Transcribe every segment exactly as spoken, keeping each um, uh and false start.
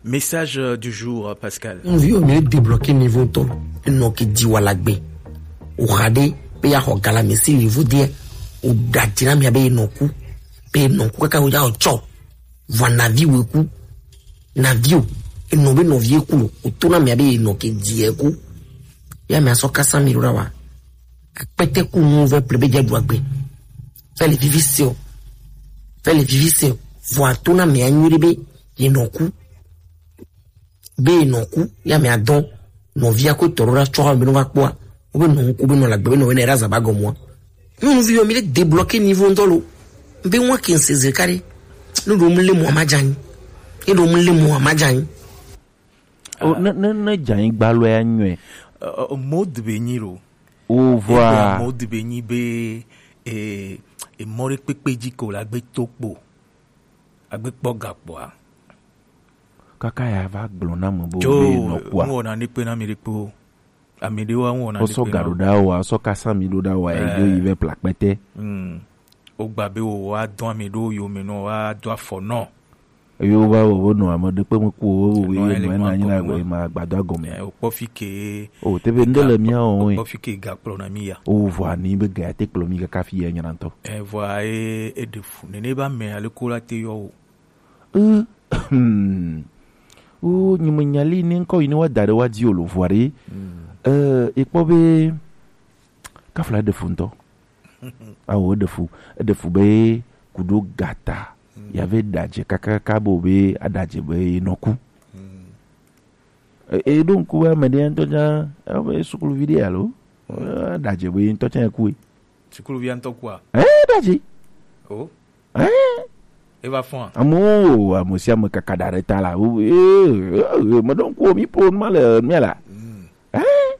Message, euh, du jour, euh, Pascal. Nyɔnuvi, mi le débloquer niveau ŋutɔ. Enɔ ke di wa la gbe. O xa ɖe be ya xɔ galamɛ si le vo de. O da dzi na mi abe enɔ ku. Be enɔ ku kaka o ya o tsɔ. Vɔ navi we ku. Navi o. Enɔ be nɔvi ku lo. O to na mi abe enɔ ke di e ku. Ya mi asɔ kasa mi ɖo ɖa wa. Akpɛtɛ ku nu vɛ ple be dze ɖu agbe. Fɛ le vivi se o. Fɛ le vivi se o. Vɔ a to na mi anyi ɖe be enɔ ku. Be nɔ ku ya mɛ adɔn nɔvia ko tɔrɔ la tsɔ be no va kpɔa. Wo be nɔ ku be nɔ la gbe be nɔ be ne ra zaba gɔmɔ. Nyɔnuvi yɔ mi le débloquer niveau ŋutɔ lo. Be wa ke se ze kare. Ne ɖo mu le mo ama dzanyi. Ne ɖo mu le mo ama dzanyi. O ne ne ne dzanyi gbalɔ ya nyɔe. Ɔ, ɔ, mode be nyi lo. O vɔa. Mode be nyi be e e mɔ ɖe kpekpe dzi ko la gbe to kpo. Agbe kpɔ gakpɔa. Kaka ya va gblɔ na me bo be nɔ kua. Ŋwɔ na ne kpe na mi ɖe kpo. Ame ɖewo ŋwɔ na ne kpe na. Wosɔ ga ɖo ɖa wa, sɔ kasa mi ɖo ɖa wa, e do yi vɛ pla kpɛtɛ. Mm. Wogba be wo wa dɔn ame ɖewo yome nɔ, wa do afɔ nɔ. Eye wova wo wo nɔ ame ɖe kpe me ku wo wo wo ye nɔ ena nyi na ma gbado agɔme. O kpɔ fi ke. O te be ŋɖe le mia o. Kpɔ fi ke ga kplɔ na mi ya. O vɔ ani be ga te kplɔ mi kaka fi ya nyina ŋutɔ. E vɔ e e ɖe fu nene ba me ale ko la te yɔ o. Eh, hmm. O nyimenya li ne ŋkɔ yi ne wa da ɖe wa di o lo vɔ ɖe. Eh, e kpɔ be kafla ɖe fu ŋutɔ. Awo eɖe fu, eɖe fu be kuɖo gata ya ve ɖadze kakaka bo be aɖadze be nɔ ku. E, e ɖo ŋku be ame ɖe ŋutɔ tsã ebe sukuluvi ɖe alo aɖadze be ŋutɔ tsã ku. Sukuluvia ŋutɔ kua? Eh, ɖadze. Oh. Eh. Eva fɔa? Amewo, ame sia ame kaka ɖa ɖe ta la. Wo, eh, eh, eh, meɖo ŋku mi po nu ma le mia la. Eh.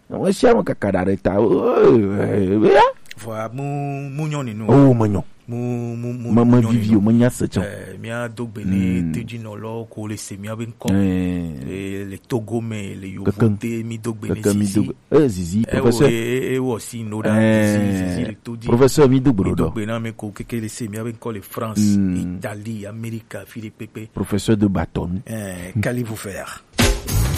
Ame sia ame kaka ɖa ɖe ta. Eh, eh, eh, ya. Vɔa mu mu nyɔ ninu. Oh, menyɔ. Mu mu mu me me vivi o, menya se tsã. Eh, mia do gbe ne tedzinɔlɔ ko le se mia be ŋkɔ. Eh, le Togo me, le Yovote, mi do gbe ne zizi. Eh, zizi, professeur. E wɔ si no da zizi, zizi le to di. Professeur, mi do gbe do. Mi do gbe na me ko keke le se mia be ŋkɔ le France, Italie, America, fi de pepe. Professeur de bâton. Eh, qu'allez-vous faire?